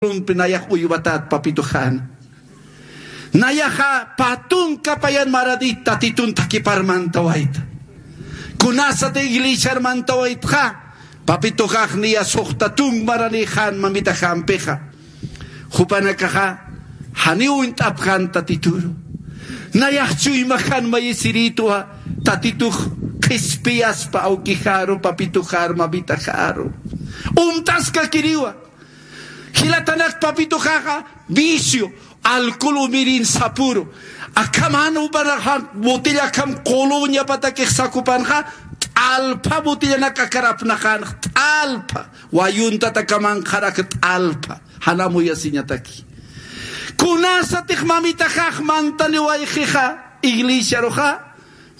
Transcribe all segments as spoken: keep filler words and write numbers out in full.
Urumpi nayax uywatat papituxäna. Nayaxa pä tunka payan maranït tatitun thakipar mantawayta. Kunasati iglesiar mantawaytxa, papituxax niya suxta tunk maranïxän mamitaxampixa. Jupanakaxa janiw uñt'apxän tatituru. Nayax chuymaxän mayisirïtwa, tatitux qhispiyaspa awkixaru, papituxaru, mamitaxaru. Umtaskakiriwa. Jilatanak papituxaxa vicio, alcohol umirin sapuru. Akham jan jupanaxa botella akham quluñapatakix sakupanxa, t'alpha botellanak akar apnaqänxa, t'alpha. Wayuntat akamanqarak t'alpha. Jan amuyasiñataki. Kunasatix mamitaxax mantaniwayxixa, iglesiaruxa,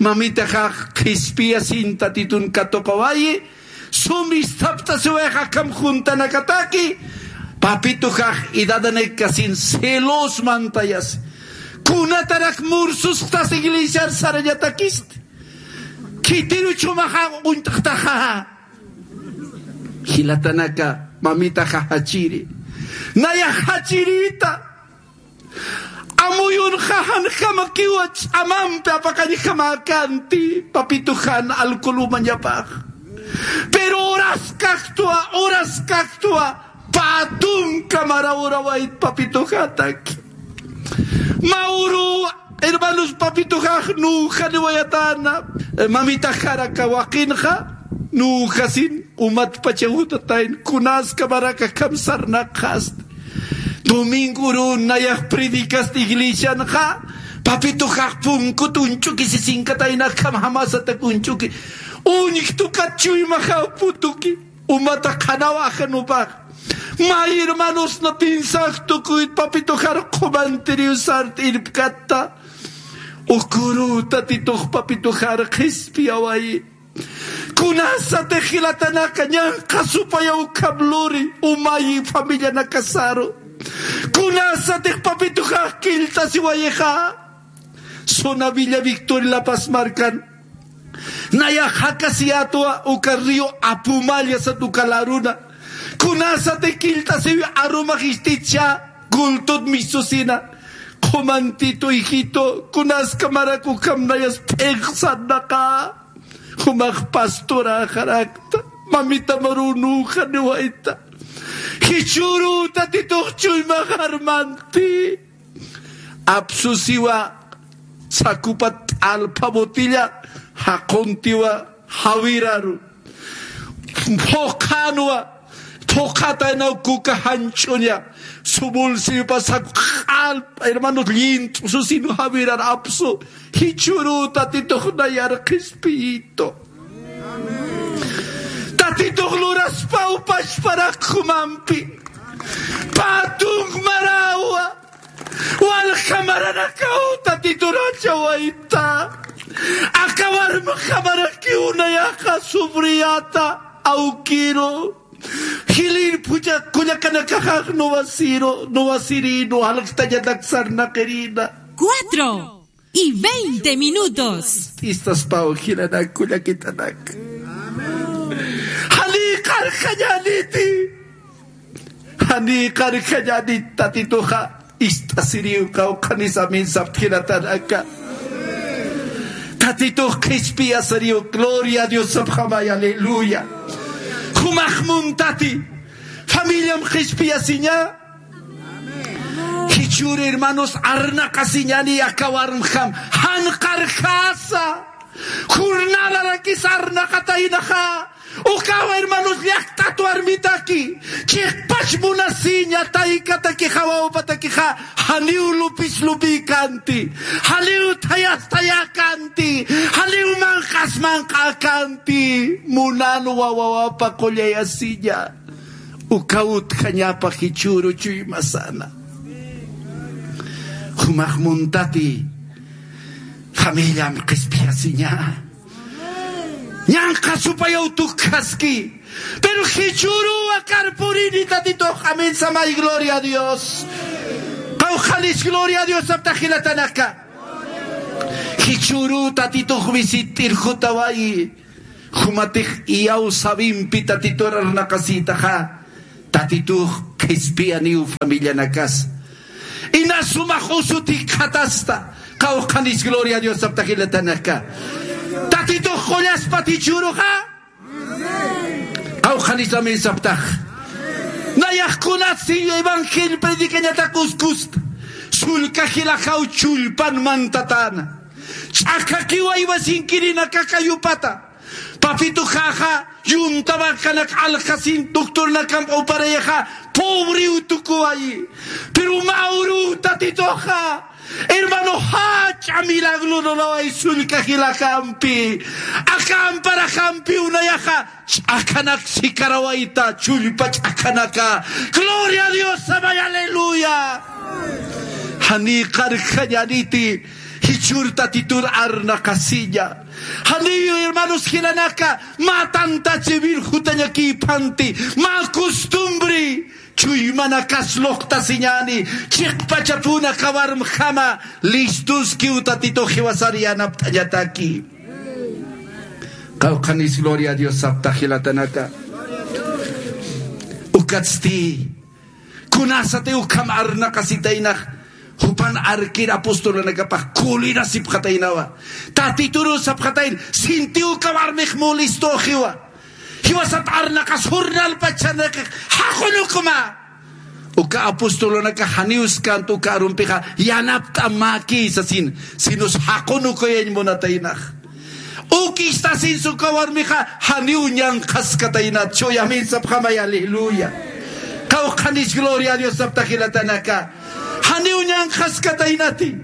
mamitaxax qhispiyasin tatitun katuqawayi, sum isthaptasiwayxa akham juntanakataki, papituxax edadanakasin celos mantayasi. Kunatarak mursusxtas iglesiar sarañatakisti. Khitiruch jumaxa uñt'xtaxa. Jilatanaka mamitaxa jachiri. Nayax jachirïta. Amuyunxa janjamakiwa ch'amampi apaqañjamäkänti, papituxan alcohol umañapax. Pero horas kaktwa, horas kaktwa, pä tunka mara urawayt papituxataki. Mä uru, hermanos, papituxax nüxaniwayatäna, mamitaxar aka waqinxa, nüxasin, umatpacha jutatayn, kunaskamarak akham sarnaqxasti. Domingo urun nayax predicasti iglesianxa, papituxax punkut uñch'uki sisinkatayna akham jamasatak uñch'uki. Uñjtukat chuymaxaw putuki. Umata qhanaw ajanupax. Mä hermanosna piensar tukuyt papituxar qhumantiriw sart irpkatta. Ukuru tatitux papituxar qhispiyawayi. Kunasatix jilatanaka ñanqha supayaw ukham luri, umayi familianakasaru. Kunasatix papituxax killt'asiwayixa. Zona Villa Victoria La Paz markan. Nayax jakasiyätwa uka río Apumalla sat uka laruna. Kunasatix killt'asiwi arumax ist'ichä, cultut misusina. Qhumantitu, hijito, kunaskamarak ukham nayas p'inqsarnaqa. Jumax pastoräxarakta, mamita maru nüxaniwayta. Jichhüru tatitux chuymax armanti. Apsusiwa sakupat t'alpha botella, jaquntiwa jawiraru. Phuqhanwa, phuqhataynaw kuka janch'uña. Su bolsillopa saku q'alp, hermanos, llint'u susin jawirar apsu. Jichhüru tatitux nayar qhispiyitu. Tatitux luraspaw pachparak jumampi. Pä tunk marawa. Walja maranakaw tatituracha wayta. Aka warmxa marakiw nayaxa sufriyäta awkiru. Jilïr phuchha kullakanakaxax nuwasiru, nuwasirïnu, jalktañatak sarnaqirïna. Cuatro y veinte minutos. Istaspaw jilanak kullakitanak. Janiy qarjañäniti. Janiy qarjañänit tatituxa. Ist'asiriw qawqhanis amén sapxta jilatanaka. Tatitux qhispiyasiriw, gloria a Dios sapxamay, aleluya. Jumax muntati. Familiam qhispiyasiña. Jichhür hermanos arnaqasiñäni aka warmjam. Jan qarjasa. Jornalarakis arnaqataynaxa. Ukaw hermanos llakt'at warmitaki. Chiqpach munasiña taykatakixa wawpatakixa. Janiw lupis lupïkänti. Janiw thayas thayäkänti. Janiw manq'as manq'äkänti. Munanwa wawapa qullayasiña. Uka utjañapa jichhüru chuymasana. Jumax muntati familiam qhispiyasiña. Ñanqha supayaw tukjaski. Pero jichhüruw akar purini tatitux. Amén samay, gloria a Dios. Qawqhanis gloria a Dios sapxta jilatanaka. Jichhüruw tatitux visit'ir jutawayi. Jumatix iyaw sawimpi tatitur arnaqasïtaxa. Tatitux qhispiyaniw familianakas. Ina sumax usutik khatasta. Qawqhanis gloria a Dios sapta jilatanaka. Tatitux qullaspat jichhüruxa. Qawqhanis amén saptax. Nayax kunatsi evangelio predicañatak uskusta. Sullka jilaxaw chullpan mantatäna. Ch'akhakiwa iwasinkirinaka kayupata. Papituxaxa, yunta vacanakan aljasin, doctornakamp uparayxa, pobriw tukuwayi. Pero mä uruw Tatituxa, hermano, jach'a milagro lurawayi sullka jilakampi. Aka amparaxampiw nayaxa, ch'akhanak sikarawayta, chullpa ch'akhanaka. Gloria a Dios, amén, aleluya. Janiy qarjañäniti, jichhür Tatitur arnaqasiña. Janiyu, hermanos, jilanaka, mä tantachï virjutañakïpanti, mä costumbre, chuymanakas luqtasiñäni, chiqpachapuna kawarmjama, listuskiw Tatitux jiwasar yanapt'añataki. Qawqhanis gloria a Dios sapta jilatanaka. Ukatsti, kunasati ukham arnaqasitaynax, jupan arkir apostolunakapax kulirasipxataynawa. Tatituru sapxatayna, sinti uka warmix molestüxiwa. Jiwasat arnaqas jornalpachanakix, jaqunukuma. Uka apostolunaka janiw skantu uka arumpixa, yanapt'amäki sasin, sinus jaqunukuyañ munataynax. Uk istasinsa uka warmixa, janiw ñanqhaskataynat, chuy amén sapxamay, aleluya. Qawqhanis gloria a Dios sapta jilatanaka. Janiw ñanqhaskataynati.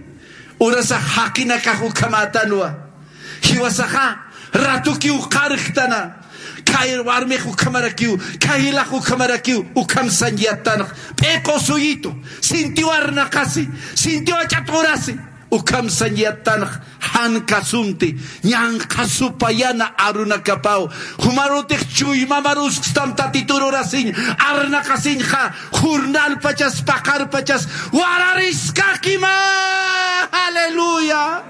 Urasax jaqinakax ukhamätanwa. Jiwasaxa, ratukiw qarjtana. Kay warmix ukhamarakiw, kay jilax ukhamarakiw, ukham sañ yattanx. P'iqu suyitu, sintiw arnaqasi, sintiw ach'at urasi. Ukham sañ yattanx, jan kasunti, ñanqhasupayana arunakapaw. Jumarutix chuymamar uskstam Tatitur urasiñ, arnaqasiñxa, jornalpachas, paqarpachas, warariskakima. Aleluya.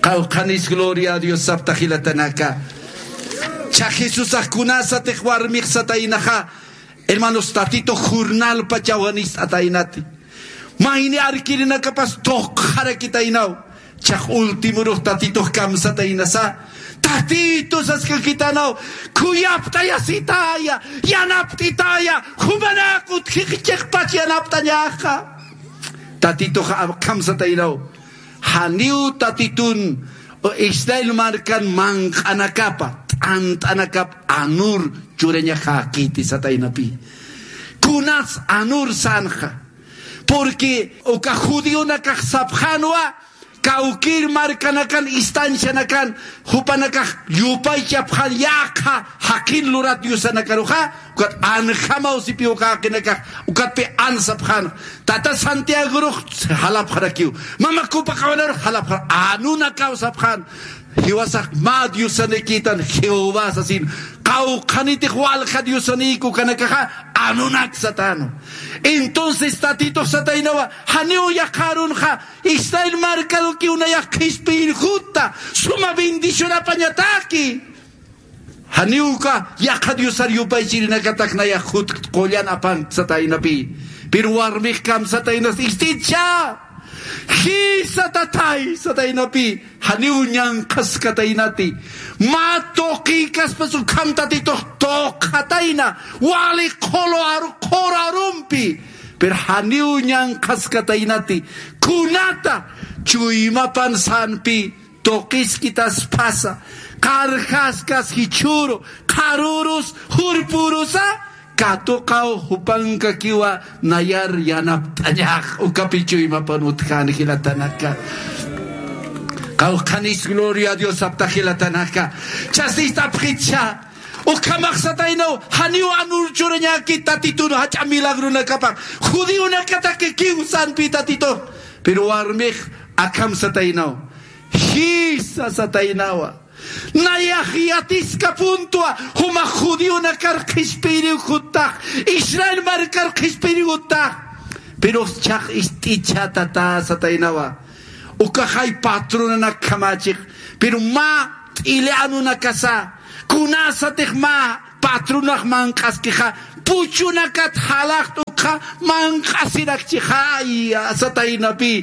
Qawqhanis gloria a Dios sapta jilatanaka. Cha Jesusax kunasatix warmix sataynaxa, hermanos, Tatitux jornalpachaw janist'ataynati. Mayni arkirinakapas tuqxarakitaynaw. Chax ultimorux Tatitux kamsataynasa. Tatitu saskakitanaw. Khuyapt'ayasitaya, yanapt'itaya, jumanak utjix chiqpach yanapt'añaxa. Tatitux kamsataynaw. Janiw Tatitun Israel markan manq'anakapa, t'ant'anakap anur churañaxäkiti sataynapi. Kunas anur sänxa. Porque uka judionakax sapxänwa, kawkïr markanakan, istancianakan, jupanakax yupaychapxän yaqha jaqin lurat diosanakaruxa, ukat anjamaw sipi uka jaqinakax, ukatpi an sapxän. Tata Santiagorux jalapxarakiw. Mama Copacabanaru jalapxar. Anunakaw sapxän. Jiwasax mä diosanikïtan Jehová sasin. Qawqhanitix walja diosanïk ukanakaxa anunak satäna. Entonces Tatitux sataynawa, janiw yaqha arunxa, Israel markarukiw nayax qhispiyir jutta, suma bendición apañataki. Janiw uka yaqha diosar yupaychirinakatak nayax jut qullan apank sataynapi. Pero warmix kamsataynas, ist'icha, jisa tatay sataynapi, janiw ñanqhaskataynati. Mä tuqïkaspas ukham Tatitux tuqxatayna, wali qhulu aru, qhuru arumpi. Pero janiw ñanqhaskataynati. Kunata chuymapan sänpi, tuqiskitasphasa, qarjaskas jichhüru, qharürus, jurpürusa, katuqaw jupankakiwa nayar yanapt'añax, ukapi chuymapan utjän jilatanaka. Qawqhanis gloria a Dios sapta jilatanaka. Chasist'apxicha, ukhamax sataynaw, janiw anur churañäki Tatitun jach'a milagronakapax, judionakatakikiw sänpi Tatitux. Pero warmix akham sataynaw. Jisa sataynawa. Nayax yatiskapuntwa, jumax judionakar qhispiyiriw juttax, Israel markar qhispiyiriw juttax. Pero chax ist'icha tata sataynawa. Ukaxay patronanak khamächix. Pero mä t'ili anunakasa, kunasatix mä patronax manq'askixa, puchunakat jalaqt'ukxa manq'asirakchixaya, sataynapi.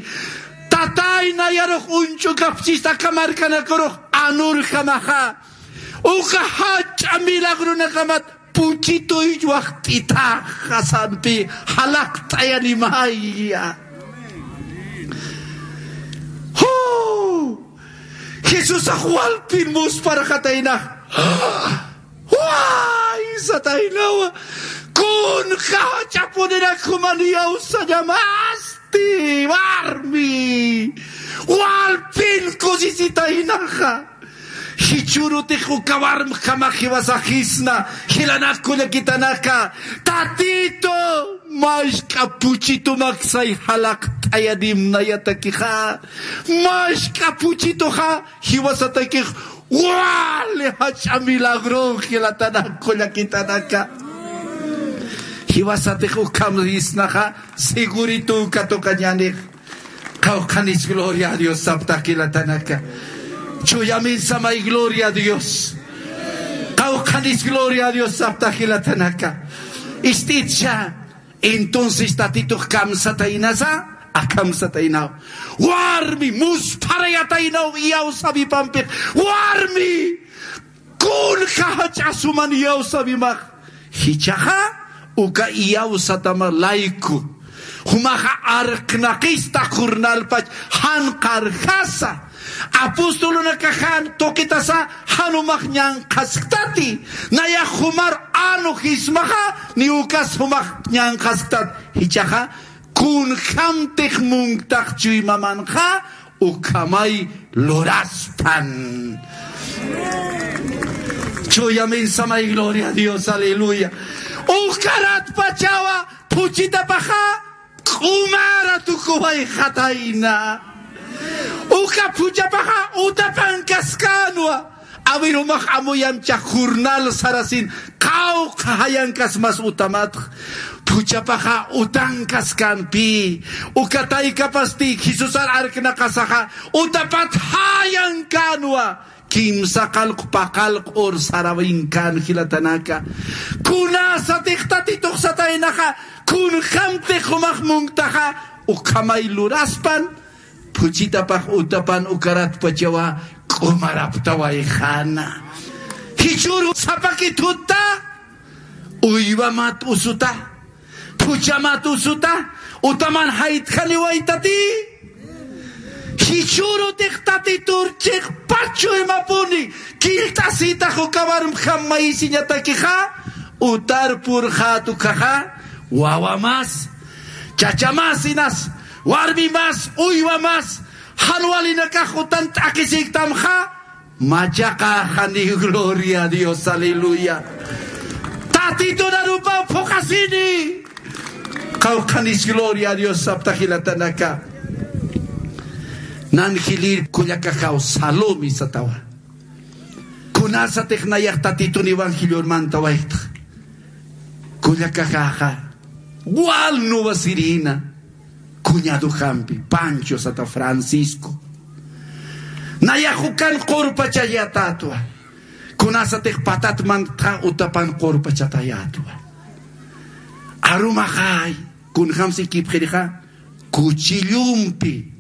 Tatay nayarux uñch'ukapchista aka markanakarux anurjamaxa. Uka jach'a milagrunakamat puchituy waxt'itaxa sampi jalaqt'ayanimaya. ¡Ju! Jesusax walpin musparxataynax. ¡Way! Sataynawa. Kunxa jach'apunirak juman iyawsañamasti, warmi. Walpin kusisitaynaxa. Jichhürutix uka warmjamax jiwasaxisna, jilanaka kullakitanaka, Tatitu, mask'a puchitumaksay jalaqt'ayanimnayatakixa, mask'a puchituxa jiwasatakix wali jach'a milagro jilatanaka kullakitanaka. Jiwasatix ukham sisnaxa, segurito katuqañänix. Qawqhanis gloria a Dios saptax jilatanaka. Chuyamïn samay gloria a Dios. Qawqhanis gloria a Dios saptax jilatanaka. Ist'itcha. Entonces Tatitux kamsataynasa, akamsataynaw. Warmi, muspharayataynaw iyawsawipampix. Warmi, kunxa jach'a suman iyawsawimax. Jichhaxa uka iyawsatama layku. Jumaxa arknaqista jornalpach jan qarjasa. Apostolunakax jan tuqitasa jan jumax ñanqhasktati. Nayax jumar anu jismaxa ni ukas jumax ñanqhasktati. Jichhaxa kunjamtix munktax chuymamanxa ukhamay luraspan. Chuyamïn samay gloria a Dios, aleluya. Ukaratpachawa phuchitapaxa q'umara tukuwayxatayna. Uka phuchapaxa utapankaskänwa. Awirumax amuyamcha jornal sarasin qawqha jayankasmas utamatx. Phuchapaxa utankaskänpi. Uka taykapasti Jesusar arknaqasaxa utapat jayankänwa. Kimsa qallqu paqallqu ur sarawinkan jilatanaka. Kunasatix Tatitux sataynaxa, kunjamtix jumax munktaxa, ukhamay luraspan, phuchitapax utapan ukaratpachawa q'umaraptawayxäna. Jichhüru sapaki thutta, uywamat usuta, phuchamat usuta, utaman jaytjaniwaytati. Jichhürutix Tatitur chiqpach chuymapuni, killt'asïtax uka warmjam mayisiñatakixa, utar purxät ukaxa, wawamas, chachamas inas, warmimas, uywamas, jan walinakax utan t'aqhisïktamxa, machaqaxani, gloria a Dios, aleluya. Tatitun arupaw phuqhasini. Qawqhanis gloria a Dios sapta jilatanaka. Nan jilïr kullakaxaw Salomé satawa. Kunasatix nayax Tatitun evangelior mantawayxta. Kullakaxaxa wal nuwasirïna. Cuñadojampi, Pancho sata Francisco. Nayax ukan qurpachayatätwa. Kunasatix patat mantxa utapan qurpachatayätwa. Arumaxay, kunjams ikipxirixa, kuchillumpi,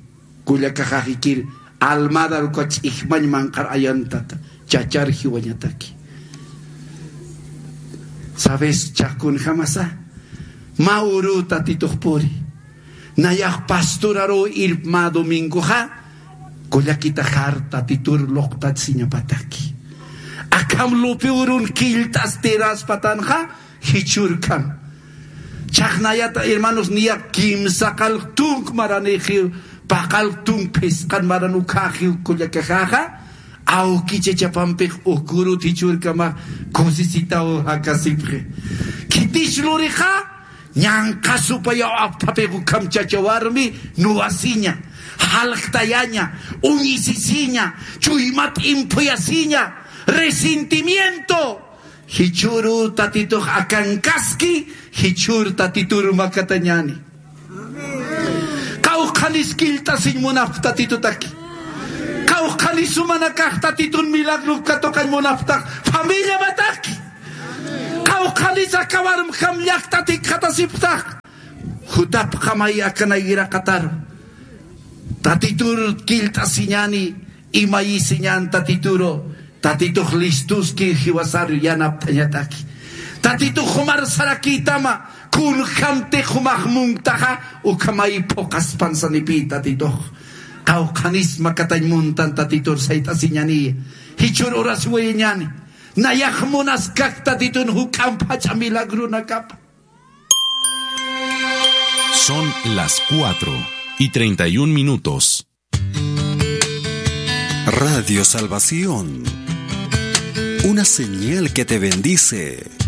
kullakaxax ikir, almadar uka ch'ijmañ manqhar ayantata, chachar jiwañataki. ¿Sabes? Chax kunjamasa, mä uru Tatitux puri. Nayax pastoraruw irp mä domingoxa, kullakitaxar Tatitur luqtachasiñapataki. Akham lupi urun killt'astiraspatanxa, jichhürkam. Chax nayata, hermanos, niya kimsa qallq tunk maranixiw, paqallq tunk phisqan maran ukhaxiw kullakaxaxa, awki chachapampix ukurut jichhürkamax kusisitaw jakasipxi. Khitis lurixa, ñanqha supayaw apthapix ukham chacha warmi nuwasiña, jalktayaña, uñisisiña, chuymat imphuyasiña, resentimiento. Jichhüru Tatitux akankaski, jichhür Tatitur makatañäni. Qawqhanis killt'asiñ munapxta Tatitutaki. Qawqhanis sumanakax Tatitun milagrup katuqañ munapxtax familiamataki. Qawqhanis akawarmjam llaktatik jatasipxtax. Jutapxamay akanayraqatar. Tatitur killt'asiñani, imayisiñan Tatituru. Tatitux listuski jiwasar yanapt'añataki. Tatitux jumar sarakïtama, kunjamtix jumax munktaxa, ukhamay phuqhaspan sanipï Tatitux. Qawqhanis makatañ muntan Tatitur sayt'asiñani. Jichhür urasiwayañani. Nayax munaskak Tatitun juk'amp jach'a milagrunakapa. Son las cuatro y treinta y un minutos. Radio Salvación, una señal que te bendice.